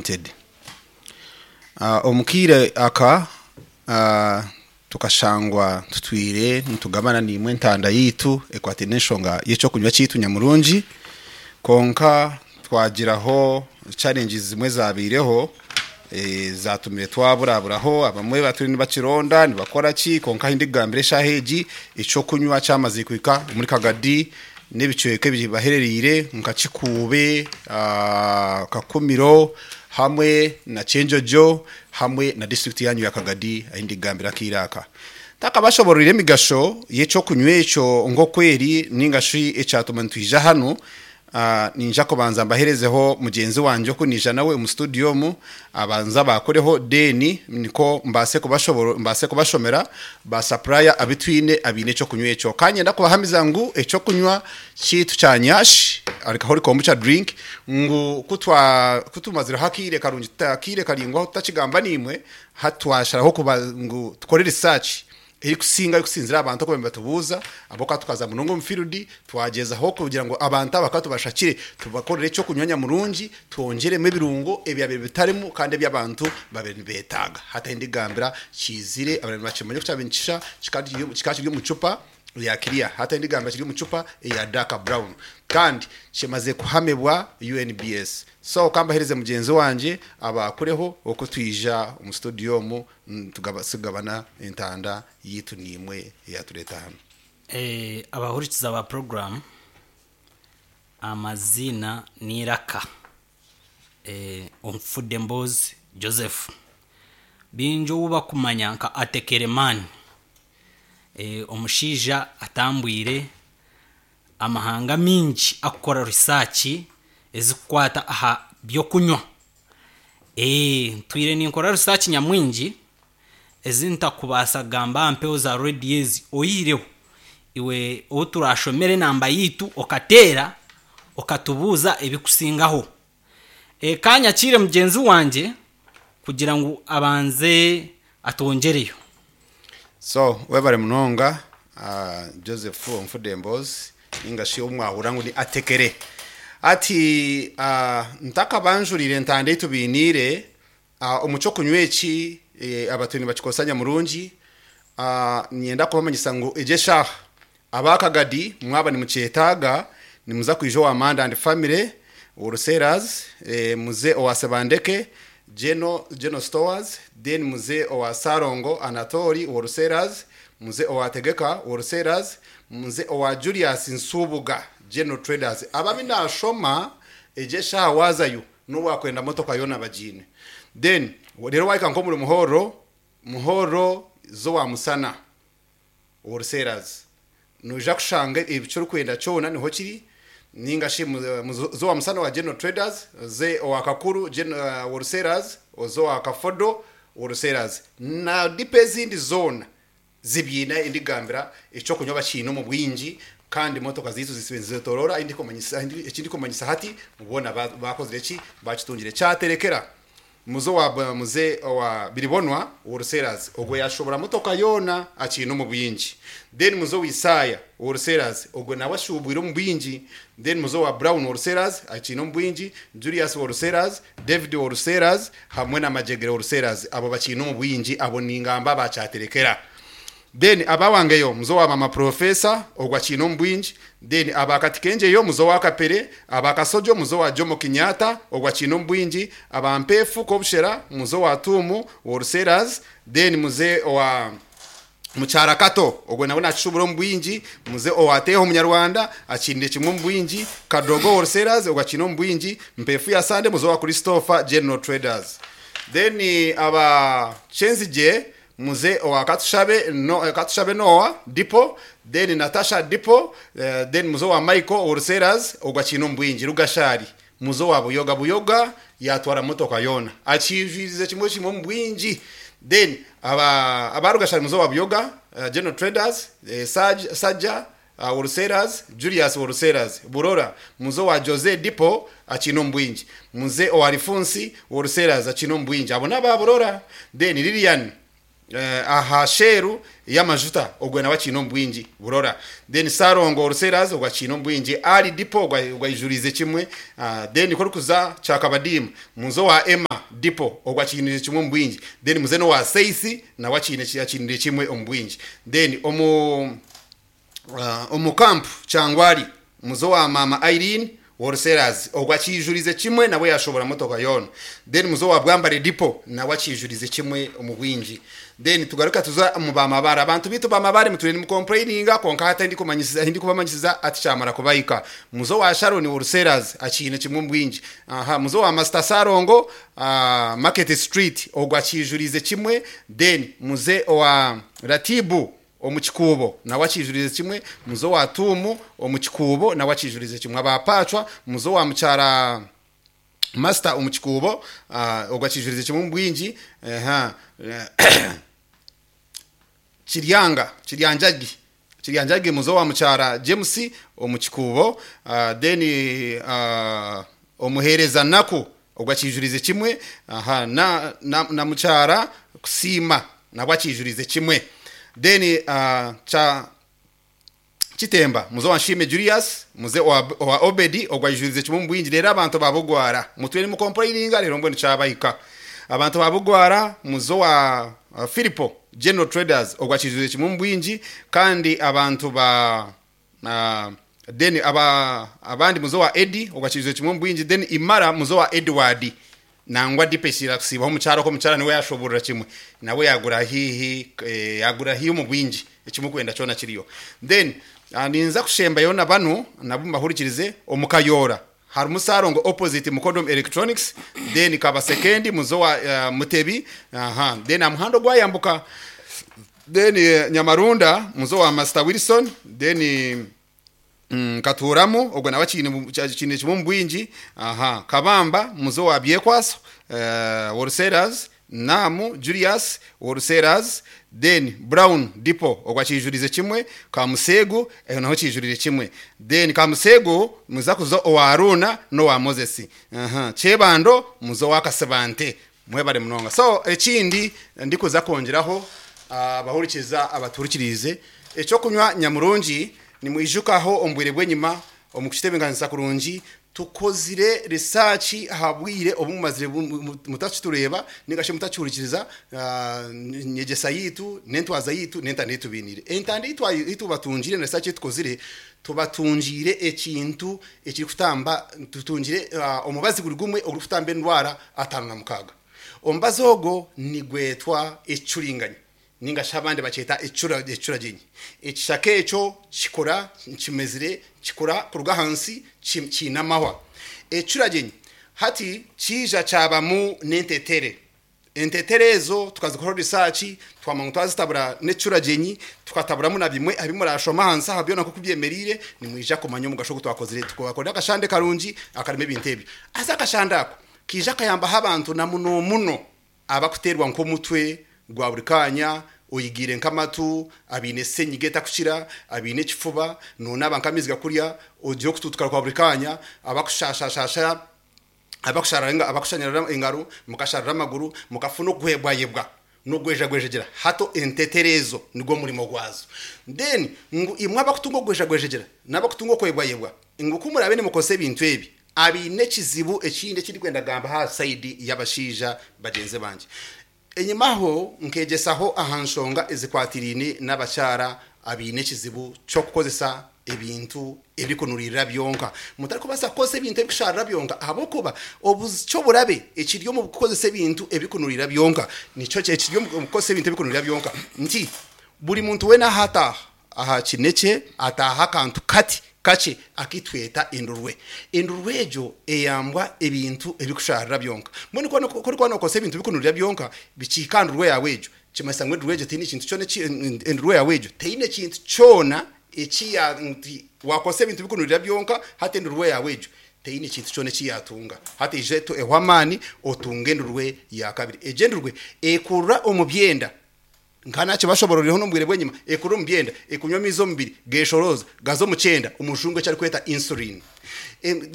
Limited. Omu kaire aka tukashangwa tutwire nitugabana naimwe entanda yaitu ekwataine n'enshonga y'ekyokunywa kyaitu nyamurungi kwonka twagiraho challenges zimwe ezabaireho ezatumire twaburaburaho abamwe batwire nibakironda nibakora ki kwonka ahu ndikugambira eshaaha egi ekyokunywa kyamazire kuhika omuri Kagadi n'ebicweka ebibaherereire nka Kikuube, Kakumiro hamwe na Kyenjojo hamwe na disiturikiti yanyu ya Kagadi ahu ndikugambira akaire aka. Ntakabashoboororeire emigasho y'eky'okunywa ekyo nk'oku eri nainga shi ekyatuma nitwija hanu, Niinyija kubanza mbaherezeho mugyenzi wangye oku naija nawe omu studio omu, abanze abaakureho then nikwo mbaase mbaase kubashomera ba supplier abu twine abaine eky'okunywa ekyo. Ka niinyenda kubahamiza ngu eky'okunywa kyaitu kya Nyash Alcoholic Kombucha Drink ngu ku twa ku tumazireho akaire karungi akaire karaingwaho tutakigamba naimwe, hati twasharaho kuba ngu tukore research erikusinga erikusinzira aha bantu oku baabaire nibatubuuza, ahabw'okuba tukaza munonga omu field twagyezaho kugira ngu abantu aba ka tubashakire tubakorere eky'okunywa nyamurungi, twongyeremu ebirungo ebyabaire bitarimu kandi ebi abantu baabaire nibeetaaga. Hati ahi ndigambira kiizire abaire nibakimanya oku kyabaire nikishusha, kikaba kiri omu cupa eya clear, hati ahi ndigambira kiri omu cupa eya dark brown kandi kimazire kuhamibwa UNBS. So ka mbaheereze mugyenzi wangye abaakureho oku twija omu studio omu Tugabana entanda yaitu naimwe eyatureeta hanu. Abahurikiza ba puroguraamu, amaziina n'eiraka, Onfudemboozi Joseph. Baingi ou barikumanya nka Atekeremani, omushaija atambwire amahanga maingi arikukora risaaki ezirikukwata aha by'okunywa. Ntwire ninkora risaaki nyamwingi ezi ntakubaasa kugamba aha mpewo za rediyo ezi oihireho iwe ou turaashomere enamba yaitu okateera okatubuuza ebikusingaho. Ka nyakiire mugyenzi wangye kugira ngu abanze atwongyereyo. So webare munonga Joseph Onfudemboozi ninga shi ou mwahurira ngu ni Atekere. Hati ntakabanjuriire entanda ei tubainiire, omu ky'okunywa eki abatwire nibakikozesa nyamurungi, niinyenda kubamanyisa ngu egi eshaaha aba Kagadi mwaba nimukyetaaga nimuza kwija owa Manda and Family Wholesalers, muze owa Sebandeke General Stores, then muze owa Ssalongo Anatoli Wholesalers, muze owa Tegeka Wholesalers, muze owa Julius Nsubuga General Traders. Aba abu naashoma egi eshaaha waazayo n'obu waakwenda motoka yoona bagiine. Then reero waahika nk'omuri Muhorro, Muhorro z'owa Musana Wholesalers, noija kushanga eki orikwenda kyona niho kiri, ninga shi oze owa Musana owa General Traders, oze owa Kakuru Wholesalers, oze owa Kafodo Wholesalers na dipo ezindi zoona zibiine ahi ndigambira eky'okunywa bakiine omu bwingi kandi motoka zaitu zisibe nizetorora ahi ndikumanyisa hati boona bakozire ki bakitungire kyaterekera. Muze owa muze owa Biribonwa Wholesalers ogwo yashubura motoka yoona akiine omu bwingi. Then muze owa Isaaya Wholesalers ogwo nawe ashubwire omu bwingi. Then muze owa Brown Wholesalers akiine omu bwingi, Julius Wholesalers, David Wholesalers hamwe na Majegere Wholesalers abo bakiine omu bwingi abo ningamba aba Kyaterekera. Then aba Wangeyo muze owa Mama Professor ogwo akiine omu bwingi, Then aba Katikengyeyo muze owa Kapere, aba Kasojo muze owa Jomo Kenyatta ogwo akiine omu bwingi, aba Mpeefu Kobushera muze owa Tuumu Wholesalers, then muze owa Mukyara Kato ogwo nawe nakishubura omu bwingi, muze owa Teeho Munyarwanda akiinire kimwe omu bwingi, Kadogo Wholesalers ogwo akiine omu bwingi, Mpeefu ya Sande muze owa Christopher General Traders. Then aba Kyenzigye Muze owa Katushabe no Katushabe Noah Depot, then Natasha Depot, then muze owa Michael Wholesalers ogwo akiine omu bwingi, Rugashari muze owa Buyoga Buyoga yatwara motoka yoona akiijwirize kimwe kimwe omu bwingi, then aba aba Rugashari muze owa Buyoga General Traders, Saj Sajja Wholesalers, Julius Wholesalers, Burora muze owa Jose Depot akiine omu bwingi, muze owa Rifunsi Wholesalers akiine omu bwingi, abo n'aba Burora, then Lilian. Aha sheru y'amajuta ogwe nawe akiine omu bwingi burora. Then Sarongo Oruseras ogwe akiine omu bwingi. Ali Depot ogwe ogwe aijuriize kimwe. Then ku orikuza Kyakabadiima muze owa Emma Depot ogwe akiiniire kimwe omu bwingi. Then muze n'owa Seisi nawe akiine akiiniire kimwe omu bwingi. Then omu Omu camp Kyangwali muze owa maama Irene Wholesalers ogwo akijurize kimwe nawe yashobora motoka yoona. Then muze owa Bwambare Depot nawe akijurize kimwe omu bwingi. Then tugaruka tuza omu ba Mabare. Abantu beitu ba Mabare mutwire nimu complaininga kwonka hati ahi ndikumanyisiza ati kyamara kubahika. Muze owa Sharon Wholesalers akiine kimwe omu bwingi. Aha muze owa Master Salongo Market Street ogwo akijurize kimwe. Then muze owa Ratibu Omu kikuubo nawe akiijurize kimwe, muze owa Tuumu omu kikuubo nawe akiijurize kimwe. Aba Paacwa, muze owa mukyara Masita omu kikuubo, ogwo akiijurize kimwe omu bwingi. Kiryanga, Kiryanjagi, Kiryanjagi muze owa mukyara James omu kikuubo, then omuheereza Naku ogwo akiijurize kimwe, na na mukyara Kusiima nabwo akiijurize kimwe. Then kya Kitemba muze owa Nshiime Julius, muze owa Obedi ogwo aijurize kimwe omu bwingi reero abantu ba Bugwara mutwire nimukompureyininga reero mbwenu kyabahika. Abantu ba Bugwara muze owa Philipo General Traders ogwo akiijurize kimwe omu bwingi kandi abantu ba then aba abandi muze owa Eddy ogwo akiijurize kimwe omu bwingi then Imara muze owa Edward. Nangwa Depeche kusiibaho omukyara okwo omukyara niwe yashoborora kimwe nawe yagura haihi yagura haihi omu bwingi ekimukwenda kyona kiriyo. Then ninza kushembayo na banu nabo mbahurikirize omu Kayoora harimu Salongo opposite Mukodom Electronics then Kabasekendi muze owa Mutebi aha then aha muhanda ogwayambuka then Nyamarunda muze owa Master Wilson then Nkatuuramu, ogwo nawe akiine kimwe omu bwingi. Aha, Kabamba, muze owa Byekwaso, Wholesalers, Naamu, Julius, Wholesalers, then Brown Depot, ogwo akiijurize kimwe, Kamuseegu, eho naho kiijurire kimwe. Then Kamuseegu muza kuza owa Aruuna n'owa Moses. Aha, Kyebando, muze owa Kasibante. Mwebare munonga. So, ekindi ndikuza kwongyeraho abahurikiza abatuhurikiriize, eky'okunywa nyamurungi, Nimwijuka aho omu bwire bw'enyima, omu kukitebeekanisa kurungi, tukozire risaaki aha bwire obu mumazire mutakitureeba nainga shi mutakihurikiriza nyegyesa yaitu n'entwaza yaitu n'entanda ei tubainiire. Entanda ei tubatungiire na risaaki ei tukozire, tubatungiire ekintu ekirikutamba, tutungire omubazi guri gumwe ogurikutamba endwara 56. Omubazi ogwo nigwetwa ekicuringanya. Nainga shi abandi bakyeta ekicuragyenyi. Ekishaka ekyo kikura kimezire, kikura kuruga ahansi kiine amahwa. Ekicuragyenyi hati kiija kyabamu n'entetere. Entetere ezo tukazikoraho risaaki twamanya ngu twazitabura n'ekicuragyenyi, tukataburamu na bimwe ahi muraashome ahansi aha byona nk'oku byemereire, nimwija kumanya omugasho ogu twakozire. Tukabakorera akashande karungi akarimu ebintu ebyo. Haza akashande ako kaija kayambaho abantu na munomuno Abakuteerwa nk'omutwe gwa buri kaanya, oigiire nk'amatu, abaine senyiga etakukira, abaine ekifuba, noonaaba nk'amaizi gakurya, ogira okutuutukara kwa buri kaanya, abakushashashasha, abakushanyarara engaro, mukasharara amaguru, mukafuna okuhebwayebwa n'ogwejagwejegyera. Hati entetere ezo nigwo murimo gwazo. Then ngu imwe abakutunga okugwejagwejegyera n'abakutunga okuhebwayebwa, ngu ku muraabe nimukozesa ebintu ebi, Abaine ekizibu ekindi eki ndikwenda kugamba aha sayidi y'abashaija bagyenzi bangye. Enyimaho nkegyesaho aha nshonga ezikwatiraine n'abakyara abaine ekizibu ky'okukozesa ebintu ebirikunuriirira byonka. Mutarikubaasa kukozesa ebintu ebirikushaarira byonka ahabw'okuba eky'oburabe ekiri omu kukozesa ebintu ebirikunuriirira byonka nikyo ekiri omu kukozesa ebintu ebirikunuriirira byonka nti buri muntu weena ahu ataaha Aha kinekye ataaha akantu kati kakye aku tweta endurwe. Endurwe egyo eyambwa ebintu ebikushaarira byonka. Mbwenu ku orikuba nookozesa ebintu birikunurira byonka bikihika aha ndurwe yaawe egyo, kimanyisa ngu endurwe egyo teine kintu kyona eki endurwe yaawe egyo teine kintu kyona eki ya nti waakozesa ebintu birikunurira byonka hati endurwe yaawe egyo teine kintu kyona eki yaatunga. Hati ija ehwe amaani otunge endurwe ya kabiri. Egyo endurwe ekurira omu byenda. Nka naakibashobororireho n'omu bwire bw'enyima, ekurira omu byenda, ekunywa amaizi omu mubiri, geeshorooza, gaza omu kyenda, omujungu eki arikweta insulin.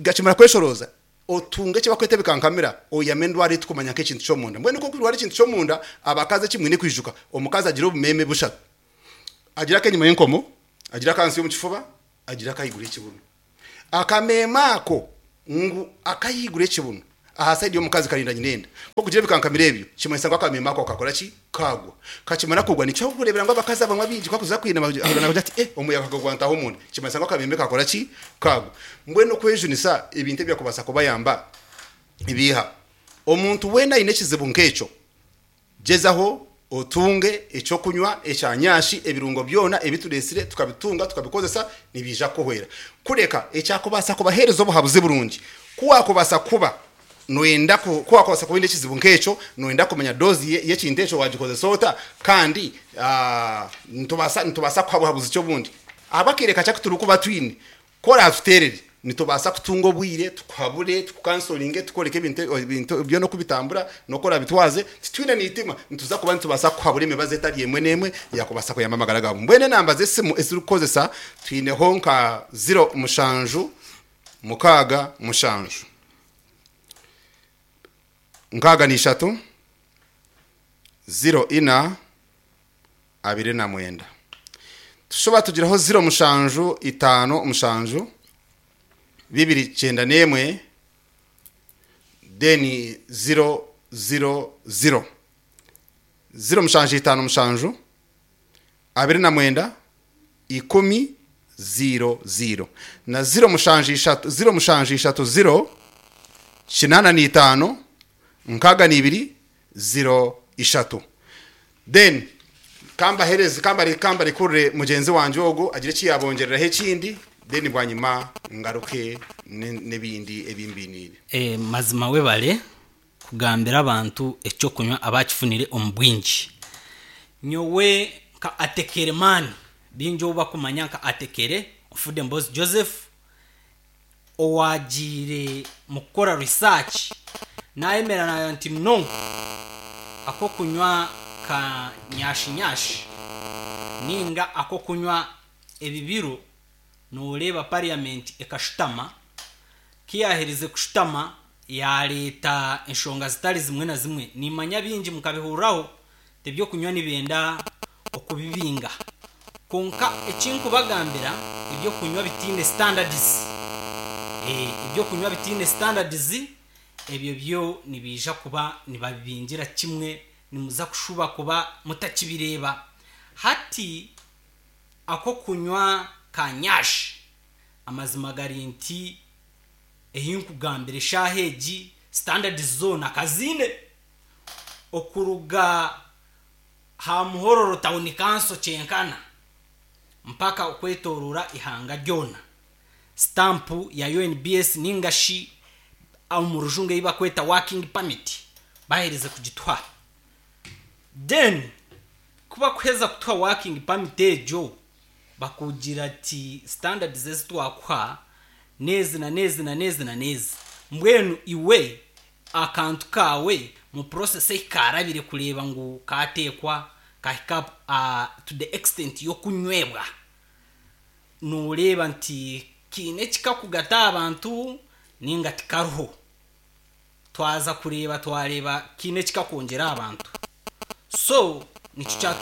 Gakimara kweshorooza, Otunge eki bakweta ebikankamira, oyame endwara ei turikumanya nk'ekintu ky'omunda. Mbwenu ku orikurwara ekintu ky'omunda, abakazi eki mwine kwijuka, omukazi agira obumeeme bushatu. Agira ak'enyima y'enkomo, agira ak'ahansi y'omu kifuba, agira ak'ahaiguru y'ekibuno. Akameeme ako ngu ak'ahaiguru y'ekibuno aha sayidi y'omukazi karinda nyina enda. Ku orikugira ebikankamiro ebyo, kimanyisa ngu akameeme ako kakora ki? Kaagwa. Kakimara kugwa, nikyo orikureebera ngu abakazi abamwe abaingi ku barikuza kwina ahurira naagira ati, Eh, omuyaga gwantaho omunda. Kimanyisa ngu akameeme kakora ki? Kaagwa. Mbwenu okwejunisa ebintu ebyakubaasa kubayamba nibiiha? Omuntu weena aine ekizibu nk'ekyo, Gyezaho otunge eky'okunywa ekya nyashi, ebirungo byona ebi tureetsire tukabitunga tukabikozesa nibiija kukuhwera. Kureka ekyakubaasa kubaheereza obuhabuzi burungi, ku waakubaasa kuba noyenda ku waakubaasa kuba oine ekizibu nk'ekyo, noyenda kumanya doozi y'ekintu ekyo waagikozesa ota, kandi nitubaasa nitubaasa kukuha buhabuzi ki obundi. Ahabw'akaire kakye aku turikuba twine, Ku oraatuteerere, nitubaasa kutunga obwire tukuhabure, tukukansoringe, tukworeke ebintu ebintu byona oku bitambura n'oku oraabitwaze. Titwine n'eitima, nituza kuba nitubaasa kukuhabura emibazi etari emwe n'emwe eyaakubaasa kuyamba amagara gaawe. Mbwenu enamba z'esimu ezi turikukozesa twineho nka ziro mushanju mukaaga mushanju, nkaaga na ishatu, ziro ina, 29. Tushuba tugiraho ziro mushanju itaano mushanju bibiri kyenda n'emwe then ziro ziro ziro. 0757 29 10 00 na 07 0730 85 62 03. Then kambahereze kambare kambarekurire mugyenzi wangye ogu agire eki yabongyereraho ekindi then bwanyima ngaruke n'ebindi ebi mbiniire. Eh, mazima webale kugambira abantu ekyokunywa abakifunire omu bwingi. Nyowe nka Atekere man, baingi ou bakumanya nka Atekere, Nfudde Mbozi Joseph, Owaagiire mu kukora research naayemera naagira nti no, ak'okunywa ka nyashi-nyashi nainga ak'okunywa ebibiro nooreeba parliament ekashutama, ku yaaherize kushutama yaareeta enshonga zitari zimwe na zimwe. Niimanya baingi mukabihuriraho nti eby'okunywa nibenda okubibinga. Kwonka eki nkubagambira, eby'okunywa bitaine standards, eby'okunywa bitaine standards, ebyo byo nibiija kuba nibabibingira kimwe, nimuza kushuba kuba mutakibireeba. Hati ak'okunywa ka nyash, amazima gari nti ei nkugambira eshaaha egi, standards zoona kaziine. Okuruga aha Muhororo Town Council kyenkana mpaka okwetoroora eihanga ryona, sitampu ya UNBS ninga shi omu rujungu ei barikweta working permit baherize kugituha. Then ku barikuheza kutuha working permit egyo, Bakugira ati standards ezi twakuha n'ezi na n'ezi na n'ezi na n'ezi. Mbwenu iwe akantu kaawe mu process ei kaarabire kureeba ngu kaateekwa kahika to the extent y'okunywebwa, nooreeba nti kiine eki kakugata aha bantu nainga tikariho. Twaza kureeba twareeba kiine eki kakwongyera aha bantu. So nikyo kyatuma.